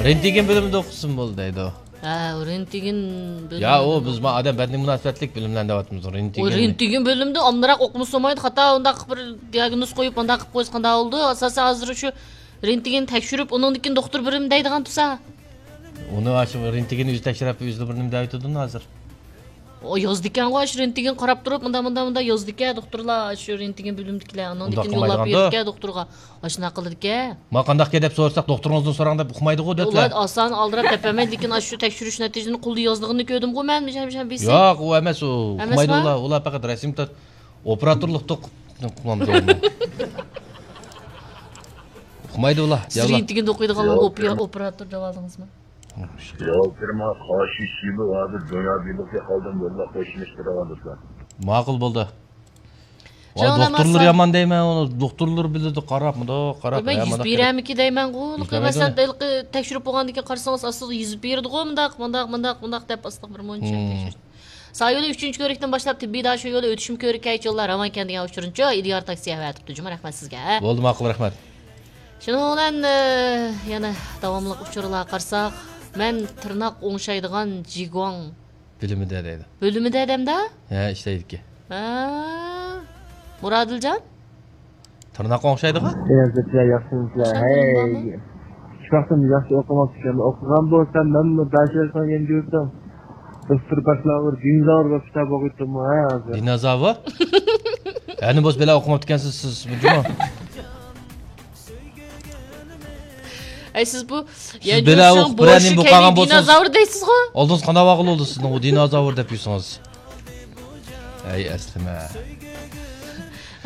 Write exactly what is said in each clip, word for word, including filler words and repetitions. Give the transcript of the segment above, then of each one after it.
رېنتگېن بۆلۈمىدە ئوقۇسۇن بولدى دەيدۇ. ھە، رېنتگېن بۆلۈمىدە. يا، ئۇ بىز ما ئادەم بەدىنىگە مۇناسىۋەتلىك بىلىملەرنى دەۋاتىمىز، ئۇ رېنتگېن. رېنتگېن بۆلۈمىدە ئامراق ئوقۇمىسا بولمايدۇ، خاتا ئۇنداق بىر دىئاگنوز قويۇپ، ئانداق قىلىپ قويسا قانداق بولىدۇ؟ ئاساسەن ھازىر شۇ رېنتگېن تەكشۈرۈپ، ئۇنىڭدىن كېيىن دوختۇر بېرىمەن دەيدىغان تۇرسا. ئۇنى شۇ رېنتگېن ئۆزى تەكشۈرۈپ، ئۆزى بىر نېمە دەۋېتىدۇ ھازىر. ئۇ يازىدىكەنغۇ، شۇ رېنتگېن قاراپ تۇرۇپ، مۇنداق، مۇنداق، مۇنداق يازىدىكەن دوختۇرلار، شۇ رېنتگېن بۆلۈمىدىكىلەر. ئۇنىڭدىن ئۇنداق كېيىن يوللاپ قىلمايدىغاندۇ؟ بېرىدىكەن دوختۇرغا. ئاشۇنداق قىلىدىكەن. ما قانداقكەن دەپ سورىساق، دوختۇرىڭىزدىن سوراڭ دەپ ئۇقمايدىغۇ دۆتلەر. ئۇلار ئاسان ئالدىراپ دەپەرمەيدۇ، لېكىن ئاشۇ تەكشۈرۈش نەتىجىسىنى قولدا يازىدىغىنىنى كۆردۈمغۇ مەن، بىشەم، بىشەم، بىسى. ياق، ئۇ ئەمەس، ئۇ ئەمەسما؟ ئۇقمايدۇ ئۇلار. ئۇلار پەقەت رەسىم تارت-، ئوپېراتورلۇقتا ئۇق-، ئۇقمامدۇ ئۇنى. ئۇقمايدۇ ئۇلار. سىز ياللا. رېنتگېندا ئوقۇيدىغانلارغا ياق. ئوپېراتور دەۋالدىڭىزمۇ؟ ياۋ، كىرما، قاشى، شىبۇ، ھازىر دۇنيا بىلىكى قالدىم، يوللاپ قويۇشمىش تۇرغان دوستلار. ماقۇل بولدى. ۋاي، شۇڭا دوختۇرلار ماسا- يامان دەيمەن، ئۇنى دوختۇرلار بىلىدۇ، قاراپ، مۇنداق قاراپ، بىلمەي ھە، يۈز مۇنداق بېرەمىكى دەيمەنغۇ، يۈز بېرمەيدۇ. مەسىلەن، ھېلىقى تەكشۈرۈپ بولغاندىن كېيىن قارىسىڭىز، ئاستىغا يېزىپ بېرىدىغۇ، مۇنداق، مۇنداق، مۇنداق، مۇنداق دەپ ئاستىغا بىر مۇنچە مم. تەكشۈرۈش. سايولى ئۈچىنچى كۆرۈكتىن باشلاپ تېببىي داشۇ يولى ئۆتۈشۈم كۆرۈككە يوللار راۋان ئىكەن دېگەن ئۇچۇرنىچۇ، ئىدىيار تاكسى ئەۋەتىپتۇ، جۇمۇ رەھمەت سىزگە. بولدى، ماقۇل، رەھمەت. شۇنىڭ بىلەن، ئە، يەنە داۋاملىق ئۇچۇرلارغا قارىساق، مەن تىرناق ئوڭشايدىغان جىگۇاڭ بۆلۈمىدە دەيدۇ. بۆلۈمىدە دەمدە؟ ھە، ئىشلەيدىكەن. ھە. مۇرادىلجان؟ تىرناققا ئوڭشايدىغان؟ ياخشىمۇ؟ ھەي. شۇ ۋاقتىم ياخشى ئوقۇماپتىكەن. ئوقۇغان بولسام، مەنمۇ داشىرسان يەنە يۈردۈم. دوختۇر باشلاۋۇر، دىنوزاۋر بولۇپ كىتاب ئوقۇيتتۇمغۇ، ھە، ھازىر. دىنوزاۋر؟ ھەنە بولسا بەلا ئوقۇماپتىكەنسىز سىز، بۇ جۇمۇ. ئەي، سىز بۇ، سىز يەنە بىلە جوشۇڭ ئۇ بوشى بىرەرنى بۇ كەينى قالغان بولسىڭىز، دىنوزاۋر دەيسىزغۇ؟ ئالدىڭىز قانداق ۋاقىل بولدى سىزنىڭ ئۇ دىنوزاۋر دەپ يۈرسىڭىز. ئەي، ئەسلىمە.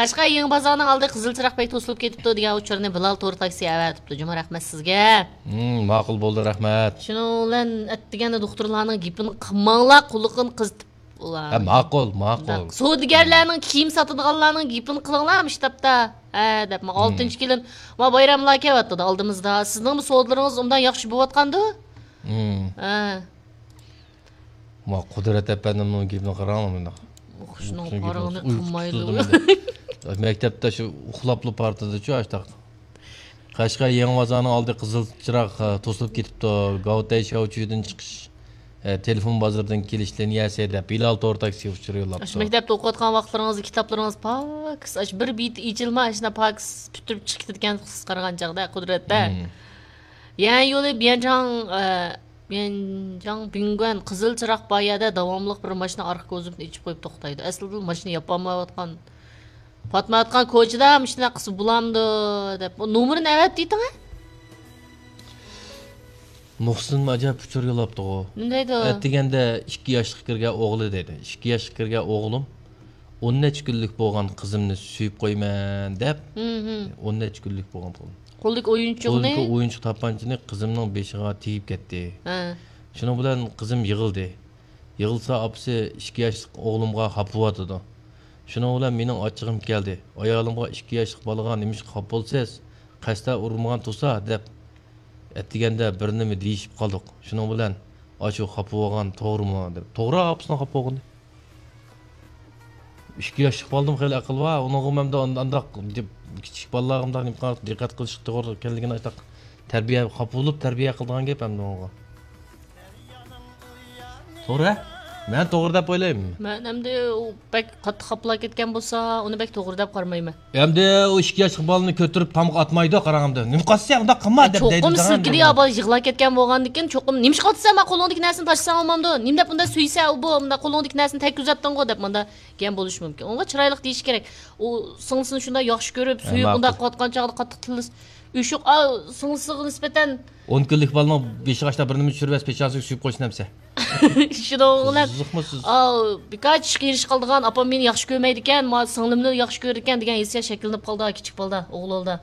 قەشقەر يېڭى بازارنىڭ ئالدى قىزىل چىراغ پەي توسۇلۇپ كېتىپتۇ دېگەن ئۇچۇرنى بىلال تور تاكسى ئەۋەتىپتۇ. جۇمۇ رەھمەت سىزگە. ھىم، ماقۇل بولدى، رەھمەت. شۇنىڭ بىلەن ئەتىگەندە دوختۇرلارنىڭ گېپىنى قىلماڭلار، قۇلىقىنى قىزىتىپ. ئۇلار ھە، ماقۇل، ماقۇل. سودىگەرلەرنىڭ، كىيىم ساتىدىغانلارنىڭ گېپىنى قىلىڭلار مۇشۇ تاپتا. ھە، دەپ، ما، مم. ئالتىنچى كېلىن، ما، بايراملار كېلىۋاتىدۇ ئالدىمىزدا. سىزنىڭمۇ سودىلىرىڭىز ئۇنداق ياخشى بولۇۋاتقاندۇ؟ مم. ھە. ما، قۇدرەت ئەپەندىمنىڭ گېپىنى قاراڭ مۇنداق. ئۇخۇشنىڭ ئۇخۇشنىڭ گېپىنى پارىڭىنى قىلمايدۇ. مەكتەپتە شۇ ئۇخلاپلا پارتىدا شۇ ئاشتاق. قەشقەر يېڭى بازارنىڭ ئالدى قىزىل چىراغ، ھە، توسۇلۇپ كېتىپتۇ. گاۋتەي شياۋچۈدىن چىقىش، ھە، تېلېفون بازىرىدىن كېلىش لىنىيەسى دەپ بىلال تور تاكسى ئۇچۇرى يوللاپتۇ. ئاشۇ مەكتەپتە ئوقۇۋاتقان ۋاقىتلىرىڭىزدا كىتابلىرىڭىز پاكىز، ئاشۇ بىر بېتى ئېچىلماي، ئاشۇنداق پاكىز پۈتتۈرۈپ چىقىپ كېتىدىكەنسىز قارىغان چاغدا، قۇدرەتتە. مم. يەنە يولى بيەنجاڭ، ئە، بيەنجاڭ بىڭگۈەن قىزىل چىراغ بار يەردە داۋاملىق بىر ماشىنا ئارقا كوزۇپنى ئېچىپ قويۇپ توختايدۇ. ئەسلىدىلا ماشىنا ياپالمايۋاتقان، پاتمايۋاتقان كوچىدا مۇشۇنداق قىلسا بولامدۇ دەپ، نومۇرىنى ئەۋەت دېيتىڭە. مۇھسىنمۇ ئاجايىپ ئۇچۇر يوللاپتىغۇ. نېمە دەيدۇ؟ ئەتىگەندە ئىككى ياشلىققا كىرگەن ئوغلى دەيدۇ. ئىككى ياشلىققا كىرگەن ئوغلۇم، ئون نەچچە كۈنلۈك بولغان قىزىمنى سۆيۈپ قويىمەن دەپ، ھىم، ھىم. ئون نەچچە كۈنلۈك بولغان قولىدا. قولىدىكى ئويۇنچۇقنى؟ قولىدىكى ئويۇنچۇق تاپانچىنى قىزىمنىڭ بېشىغا تېگىپ كەتتى. ھە. شۇنىڭ بىلەن قىزىم يىغلىدى. يىغلىسا ئاپىسى ئىككى ياشلىق ئوغلۇمغا خاپا بولۇۋاتىدۇ. شۇنىڭ بىلەن مېنىڭ ئاچچىقىم كەلدى. ئايالىمغا ئىككى ياشلىق بالىغا نېمىشقا خاپا بولىسىز؟ قەستەن ئۇرمىغان تۇرسا دەپ ئەتىگەندە بىر نېمە دېيىشىپ قالدۇق. شۇنىڭ بىلەن ئاشۇ خاپا بولغان توغرىمۇ دەپ. توغرا ئاپىسىنىڭ خاپا بولغىنى. ئىككى ياشلىق بالىدىمۇ خېلى ئەقىل بار. ئۇنىڭغا مەن ئانداق دېپ كىچىك بالىلارغا مۇنداق نېمە قىلىپ دىققەت قىلىش توغرا ئىكەنلىكىنى ئاشۇنداق تەربىيە، خاپا بولۇپ تەربىيە قىلىدىغان گەپ ئەمدى ئۇنىڭغا. توغرا. مەن توغرا دەپ ئويلايمەن. مەن ئەمدى ئۇ بەك قاتتىق خاپىلاپ كەتكەن بولسا، ئۇنى بەك توغرا دەپ قارىمايمەن. ئەمدى ئۇ ئىككى ياشلىق بالىنى كۆتۈرۈپ تامغا ئاتمايدۇ، قاراڭ ئەمدى. نېمە قىلسا ئۇنداق قىلما دەپ چوقۇم دەيدۇ، سىلكىدى يا بالا يىغلاپ كەتكەن بولغاندىكىن، چوقۇم نېمىشقا ئاتىسەن، ما قولۇڭدىكى نەرسىنى تاشلىساڭ بولمامدۇ؟ نېمە دەپ ئۇنداق سۆيسە ئۇ بۇ، مۇنداق قولۇڭدىكى نەرسىنى تەگكۈزەتتىڭغۇ دەپ مۇنداق گەپ بولۇشى مۇمكىن. ئۇنىڭغا چىرايلىق دېيىش كېرەك. ئۇ سىڭلىسىنى شۇنداق ياخشى كۆرۈپ، ھە، سۆيۈپ، ماقۇل. ئۇنداق قىلىۋاتقان چاغدا قاتتىق تىللىسا، ئۆشۈق، ئا، سىڭلىسىغا نىسبەتەن. ئون كۈنلۈك بالىنىڭ بېشىغا ئاشتا بىر نېمە چۈشۈرۈۋەتسە، پېچانسىغا سۆيۈپ قويسۇن ئەمسە. شۇنىڭ بىلەن، قىزىقمۇ سىز؟ ئا، بىكار چىشقا ئېرىشىپ قالىدىغان، ئاپام مېنى ياخشى كۆرمەيدىكەن، ما سىڭلىمنى ياخشى كۆرىدىكەن دېگەن ھېسسىيات شەكىللىنىپ قالىدۇ كىچىك بالىدا، ئوغۇل بالىدا.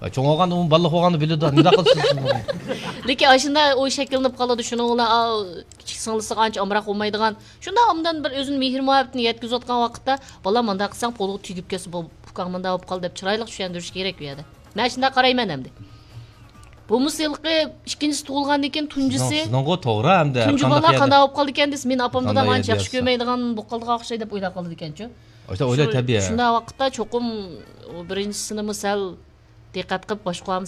ھە، چوڭ بولغاندا ئۇمۇ بالىلىق بولغاندا بىلىدۇ، نېمانداق قىلسىز سىز بۇنى؟ لېكىن ئاشۇنداق ئۇ شەكىللىنىپ قالىدۇ، شۇنىڭ بىلەن، ئا، كىچىك سىڭلىسىغا ئانچە ئامراق بولمايدىغان. شۇنداق ئوبدان بىر ئۆزىنى مېھىر مۇھەببىتىنى يەتكۈزۈۋاتقان ۋاقىتتا، بالام مانداق قىلساڭ قولۇڭغا تېگىپ كەتسە، بۇ ئۇكاڭ مانداق بولۇپ قالدى دەپ چىرايلىق چۈشەندۈرۈش كېرەك بۇ يەردە. مەن شۇنداق قارايمەن ئەمدى. بولمىسا ھېلىقى ئىككىنچىسى تۇغۇلغاندىن كېيىن تۇنجىسى، سىزنىڭ، سىزنىڭغۇ توغرا ئەمدى. تۇنجى بالا قانداق يەردە؟ قانداق بولۇپ قالدىكەن دېسە، مېنى ئاپام دادام ئانچە ياخشى كۆرمەيدىغان بولۇپ قالىدىغان ئوخشايدۇ دەپ ئويلاپ قالىدىكەنچۇ. ئاشۇنداق ئويلاش تەبىئىي. شۇنداق ۋاقىتتا چوقۇم ئۇ بىرىنچىسىنىمۇ سەل دىققەت قىلىپ باشقۇرامىز.